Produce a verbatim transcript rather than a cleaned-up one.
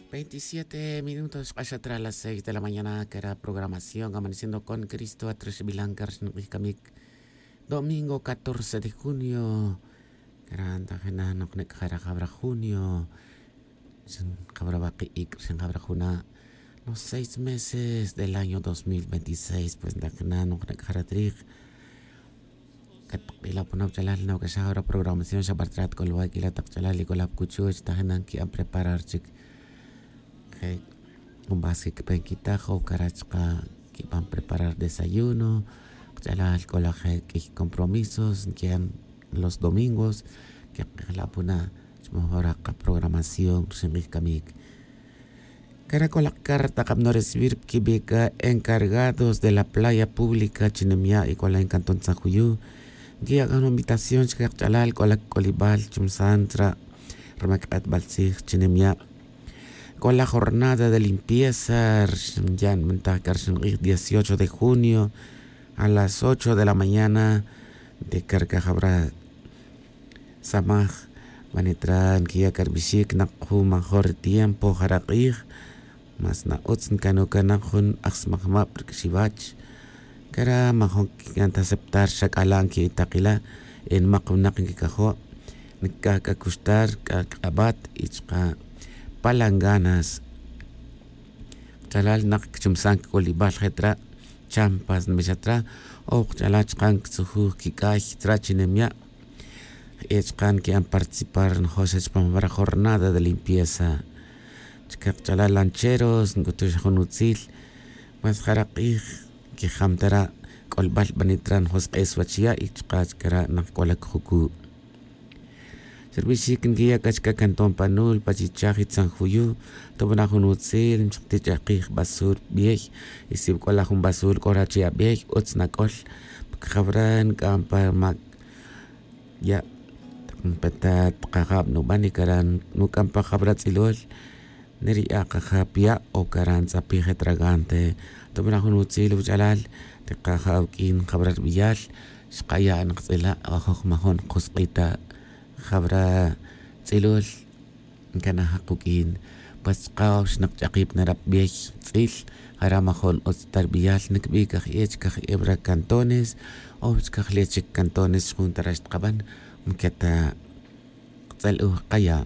Veintisiete minutos xk'ax atra las seis de la mañana kera programación amaneciendo con cristo atrixbilan kera xnink'ij kamik. Domingo catorce de junio. Kera ntajina' noknik' jara' jabra junio. Xin jabra baki' ik' xin jabra juna'. Los seis meses del año dos mil veintiséis pues ntajina' noknik' jara' trij. Katb'ila' puna' wach'alal nawk'axaj ora programación xa b'artrat k'o luwak'ila' taq ch'alal ik'ola' pukuchuch tajina' nki'an preparar chik. Je' jun b'as kik'pen kitaj o kara' chqa' kib'an preparar desayuno. Qach'alal k'ola' je' k'iy compromisos nki'an los domingos. Kek'ejla' puna' chmoj ora qaprogramación rxin q'ij kamik. Kara' k'ola' carta qab'ano recibir pi kibe' k'a encargados de la playa pública chi nimya' ik'ola' en cantón san juyu. Nkiya' k'a jun invitación chike qach'alal k'ola' kik'olib'al chumsan tzra' rma kiq'atb'al tzij chi nimya'. K'ola' jornada de limpieza rxin yan b'antaj k'a rxin q'ij dieciocho de junio a las ocho de la mañana. Ntikar k'a jab'ra' samaj. B'anitra' nkiya' k'a rb'ixik naq jun major tiempo jara' q'ij. Mas na utz nkano' k'a naq jun ajsmajmab' rk'xiwach. Kara' majun kikan ta aceptar xa k'ala' nki'itaqila'. Enmaq winaq nkikajo' nkikaj k'a kuxtar k'a kiq'ab'at y chqa' palanganas. Qach'alal naq kchumsan kik'olib'al je' tzra' champas nb'ixat tzra' o qach'alal chqa' nktzujuj kik'ay tzra' chi nimya'. Je' chqa' nki'an participar njoxa chpam jab'ra' jornada de limpieza. Chike qach'alal lancheros nk'utu xa jun utzil. Mas jara' q'ij nkijam tara' k'olb'al b'anitra' njosk'es wach ya' y chqa' chkara' naq k'ola' kjuku'. Xa rb'ixik nkiya' k'a chka' cantón panul pachichaj y tzanjuyu. Tob'ana' jun utzil nchaqtich'aqij basur b'ey. Y si wk'ola' jun basur k'ora' chi ab'ey utz nak'ol. Pkjab'ra' nk'an pa mak ya' taq npetat qajab' nub'an y kara' nuk'an pa jab'ra' tz'ilol. Neriya' qajab' ya' o kara' ntz'apij etragante. Tob'ana' jun utzil wuch'alal. Tiqaja' awk'in jab'ra' rb'iyal. Xqaya' nqtz'ila' ajoj majun qjusk'ita'. Jab'ra' tz'ilol nkanaj quk'in. Pues chqa' ox naq ch'aqib' narab' b'ey tz'il. Jara' majun utz ta rb'iyal nkb'i' kaj ech kaj eb'ra' cantones. Ox kaj le' chik cantones xjun ta rax tqab'an. Nketa' qtz'el uj qaya'.